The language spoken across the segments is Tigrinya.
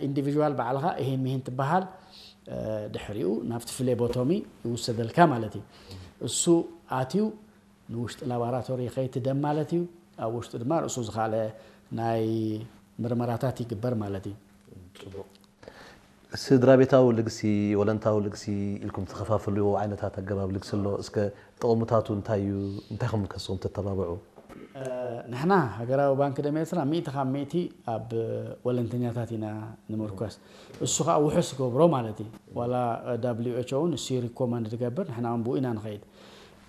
ኢንዲቪድዋል ባዕልኻ ይሄን ሚሄን ትበሃል። ድሕሪኡ ናብቲ ፍሌቦቶሚ ይውሰደልካ ማለት እዩ። እሱ ኣትዩ ንውሽጢ ላቦራቶሪ ይኸይድ ደም ማለት እዩ። ኣብ ውሽጡ ድማ ርእሱ ዝኻለ ናይ ምርመራታት ይግበር ማለት እዩ። ስድራ ቤታዊ ልግሲ፣ ወለንታዊ ልግሲ ኢልኩም ትኸፋፍልዎ ዓይነታት ኣገባብ ልግሲ ኣሎ። እስከ ጥቕምታቱ እንታይ እዩ? እንታይ ከም ከስኹም ተተባብዑ? ንሕና ሃገራዊ ባንክ ደም ኤርትራ ሚእቲ ካብ ሚእቲ ኣብ ወለንተኛታት ኢና ንምርኮስ። እሱ ከዓ ውሑስ ይገብሮ ማለት እዩ። ዋላ W H O እውን እሱ ሪኮመንድ ዝገብር፣ ንሕና እውን ብኡ ኢና ንኸይድ።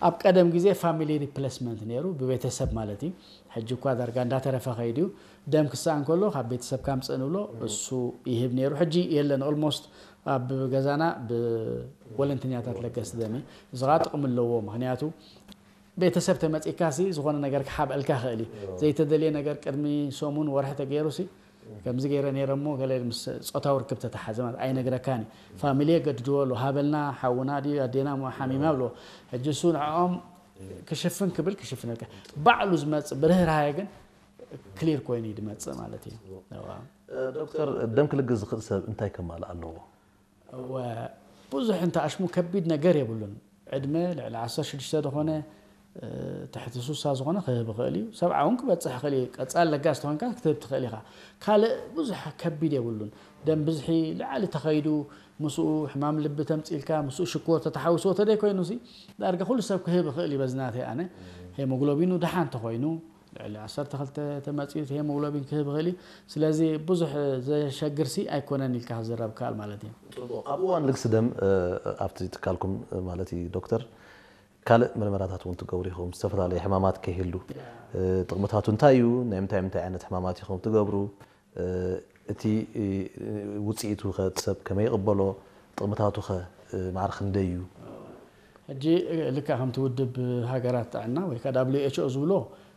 ኣብ ቀደም ግዜ ፋሚሊ ሪፕሌስመንት ነይሩ፣ ብቤተሰብ ማለት እዩ። ሕጂ እኳ ዳርጋ እንዳተረፈ ከይድ እዩ። ደም ክሰኣን ከሎ ካብ ቤተሰብ ካምፅእ ንብሎ፣ እሱ ይህብ ነይሩ። ሕጂ የለን። ኦልሞስት ኣብ ገዛና ብወለንተኛታት ለገስ ደም እዩ። እዚ ከዓ ጥቕሚ ኣለዎ። ምክንያቱ ቤተሰብ ተመፂካ ሲ ዝኾነ ነገር ክሓብአልካ ይኽእል እዩ። ዘይተደልየ ነገር ቅድሚ ሰሙን ወርሒ ተገይሩ ሲ ከምዚ ገይረ ነይረ እሞ ገለ ምስ ፆታዊ ርክብ ተተሓዘ ማለት ኣይነግረካን እዩ። ፋሚሊ የገድድዎ ኣሎ፣ ሃበልና ሓውና ድዩ ኣዴና እሞ ሓሚማ ብሎ። ሕጂ እሱ ንዕኦም ክሽፍን ክብል ክሽፍነልካ ባዕሉ ዝመፅእ ብርህራሄ ግን ክሊር ኮይኑ እዩ ዝመፅእ ማለት እዩ። እዋ። ዶክተር፣ ደም ክልግስ ዝኽእል ሰብ እንታይ ከማልእ ኣለዎ? እወ፣ ብዙሕ እንተ ኣሽሙ ከቢድ ነገር የብሉን። ዕድመ ልዕሊ ዓሰርተ ሽዱሽተ ዝኾነ፣ ትሕቲ ሱሳ ዝኾነ ክህብ ይኽእል እዩ። ሰብዓ እውን ክበፅሕ ይኽእል እዩ። ቀፃል ለጋስ ተኾንካ ክትህብ ትኽእል ኢኻ። ካልእ ብዙሕ ከቢድ የብሉን። ደም ብዝሒ ልዓሊ ተኸይዱ፣ ምስኡ ሕማም ልቢ ተምፂልካ፣ ምስኡ ሽኮር ተተሓዊስዎ ተደይ ኮይኑ ሲ ዳርጋ ኩሉ ሰብ ክህብ ይኽእል እዩ። በዚ ናተይ ኣነ ሄሞግሎቢኑ ደሓን ተኾይኑ ልዕሊ ዓሰርተ ክልተ ተመፂኡ እቲ ሄሞግሎቢን ክህብ ይኽእል እዩ። ስለዚ ብዙሕ ዘሸግር ሲ ኣይኮነን ኢልካ ክዝረብ ከኣል ማለት እዩ። ጽቡቕ። ኣብ እዋን ልግሲ ደም ኣብቲ ትካልኩም ማለት እዩ ዶክተር ካልእ ምርመራታት እውን ትገብሩ ኢኹም። ዝተፈላለዩ ሕማማት ከይህሉ ጥቕምታቱ እንታይ እዩ? ናይ ምንታይ ምንታይ ዓይነት ሕማማት ኢኹም ትገብሩ? እቲ ውፅኢቱ ኸ እቲ ሰብ ከመይ ይቕበሎ? ጥቕምታቱ ኸ ማዕረ ክንደይ እዩ? ሕጂ ልክዕ ከምቲ ውድብ ሃገራት ጥዕና ወይ ከዓ W H O ዝብሎ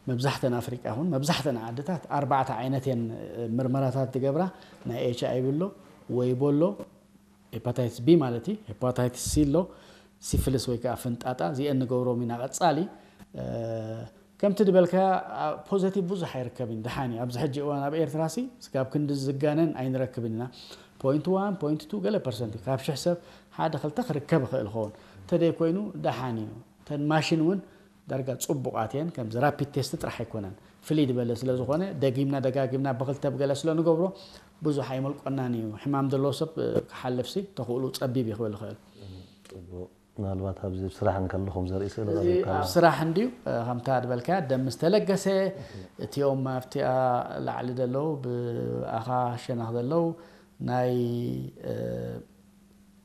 መብዛሕተን ኣፍሪቃ ይኹን መብዛሕተን ዓድታት ኣርባዕተ ዓይነት እየን ምርመራታት ዝገብራ። ናይ ኤች ኣይ ቪ ኣሎ፣ ወይቦ ኣሎ፣ ሄፓታይትስ ቢ ማለት እዩ፣ ሄፓታይትስ ሲ ኣሎ፣ ሲፊልስ ወይ ከዓ ፍንጣጣ እዚአን ንገብሮም ኢና። ቀፃሊ ከምቲ ዝበልካ ፖዘቲቭ ብዙሕ ኣይርከብን። ደሓን እዩ። ኣብዚ ሕጂ እዋን ኣብ ኤርትራ ሲ ስጋብ ክንዲ ዝጋነን ኣይንረክብን ኢና። ፖይንት ዋን ፖይንት ቱ ገለ ፐርሰንት እዩ። ካብ ሽሕ ሰብ ሓደ ክልተ ክርከብ ይኽእል ይኸውን። እንተደይ ኮይኑ ደሓን እዩ። እተን ማሽን እውን ዳርጋ ፅቡቓት እየን። ከምዚ ራፒድ ቴስት ጥራሕ ኣይኮነን። ፍልይ ዝበለ ስለ ዝኾነ ደጊምና ደጋጊምና ብክልተ ብገለ ስለ ንገብሮ ብዙሕ ኣይመልቆናን እዩ። ሕማም ዘለዎ ሰብ ክሓልፍ ሲ ተኽእሉ ፀቢብ እዩ ክብል ይኽእል። ምናልባት ኣብዚ ስራሕ እንከለኹም ዘርኢ ስእሊ እዚ ኣብ ስራሕ እንድዩ። ከምታ ዝበልካያ ደም ምስ ተለገሰ እቲኦም ኣብቲኣ ላዕሊ ዘለዉ ብኣኻ ሸነኽ ዘለዉ ናይ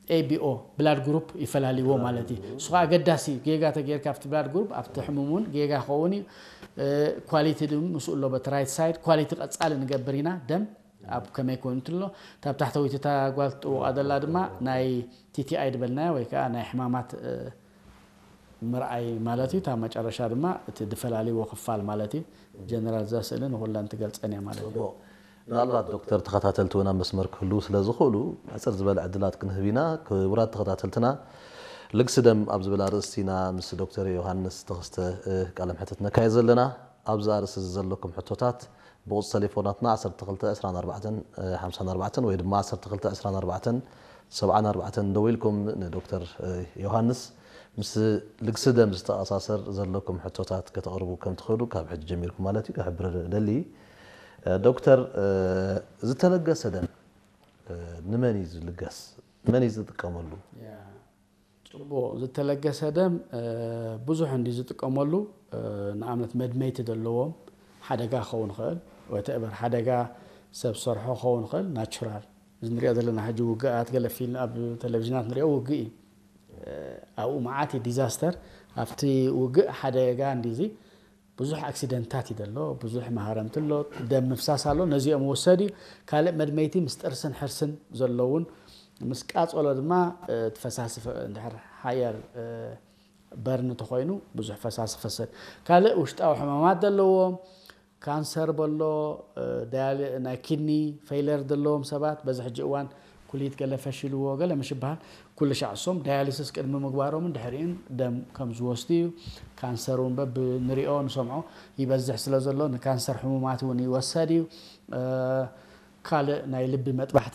A B O ብላድ ግሩፕ ይፈላልዎ ማለት እዩ። እሱ ከዓ ኣገዳሲ እዩ። ጌጋ ተጌርካ ኣብቲ ብላድ ግሩፕ ኣብቲ ሕሙም እውን ጌጋ ክኸውን እዩ። ኳሊቲ ድ ምስኡ ኣሎ በቲ ራይት ሳይድ ኳሊቲ ቀፃሊ ንገብር ኢና። ደም ኣብ ከመይ ኮይኑ ትሎ እታ ታሕተወይቲ እታ ጓል ትጥውቓ ዘላ ድማ ናይ T T I ዝበልናዮ ወይ ከዓ ናይ ሕማማት ምርኣይ ማለት እዩ። እታ መጨረሻ ድማ እቲ ዝፈላልዎ ክፋል ማለት እዩ። ጀነራል እዛ ስእሊ ንኩለን ትገልፀን እያ ማለት እዩ። ምናልባት ዶክተር ተኸታተልቲ እውን ኣብ መስመር ክህልዉ ስለ ዝኽእሉ ሕፅር ዝበለ ዕድላት ክንህብ ኢና። ክቡራት ተኸታተልትና ልግሲ ደም ኣብ ዝብል ኣርእስቲ ኢና ምስ ዶክተር ዮሃንስ ተኸስተ ቃለ ምሕትት ነካየድ ዘለና። ኣብዚ ኣርእስቲ እዚ ዘለኩም ሕቶታት ብቁፅሪ ቴሌፎናትና ዓሰርተ ክልተ ዕስራን ኣርባዕተን ሓምሳን ኣርባዕተን ወይ ድማ ዓሰርተ ክልተ ዕስራን ኣርባዕተን ሰብዓን ኣርባዕተን ደዊልኩም ንዶክተር ዮሃንስ ምስ ልግሲ ደም ዝተኣሳሰር ዘለኩም ሕቶታት ከተቕርቡ ከም ትኽእሉ ካብ ሕጂ ጀሚርኩም ማለት እዩ ክሕብር ደሊ። ዶክተር፣ ዝተለገሰ ደም ንመን እዩ ዝልገስ? መን እዩ ዝጥቀመሉ? ፅቡቕ። ዝተለገሰ ደም ብዙሕ እንዲ ዝጥቀመሉ። ንኣብነት መድመይቲ ዘለዎም ሓደጋ ክኸውን ይኽእል፣ ወተእበር ሓደጋ ሰብ ሰርሖ ክኸውን ይኽእል፣ ናቹራል እዚ ንሪኦ ዘለና ሕጂ ውግኣት ገለ ፊልም ኣብ ቴሌቪዥናት ንሪኦ ውግእ እዩ። ኣብኡ መዓት እዩ ዲዛስተር። ኣብቲ ውግእ ሓደጋ እንዲዚ ብዙሕ ኣክሲደንታት እዩ ዘሎ፣ ብዙሕ መሃረምቲ ኣሎ፣ ደም ምፍሳስ ኣሎ። ነዚኦም ወሰድ እዩ። ካልእ መድመይቲ ምስ ጥርስን ሕርስን ዘለውን ምስ ቃጸሎ ድማ እቲ ፈሳሲ እንድሕር ሃየር በርን እንተኾይኑ ብዙሕ ፈሳሲ ክፈሰድ። ካልእ ውሽጣዊ ሕማማት ዘለዎም ካንሰር በሎ፣ ናይ ኪድኒ ፌይለር ዘለዎም ሰባት በዚ ሕጂ እዋን ኩሊት ገለ ፈሽልዎ ገለ ምሽ ይበሃል። ኩሉ ሻዕ እሶም ዳያሊሲስ ቅድሚ ምግባሮምን ድሕሪኡን ደም ከም ዝወስዱ እዩ። ካንሰር እውን በብንሪኦ ንሰምዖ ይበዝሕ ስለ ዘሎ ንካንሰር ሕሙማት እውን ይወሰድ እዩ። ካልእ ናይ ልቢ መጥባሕቲ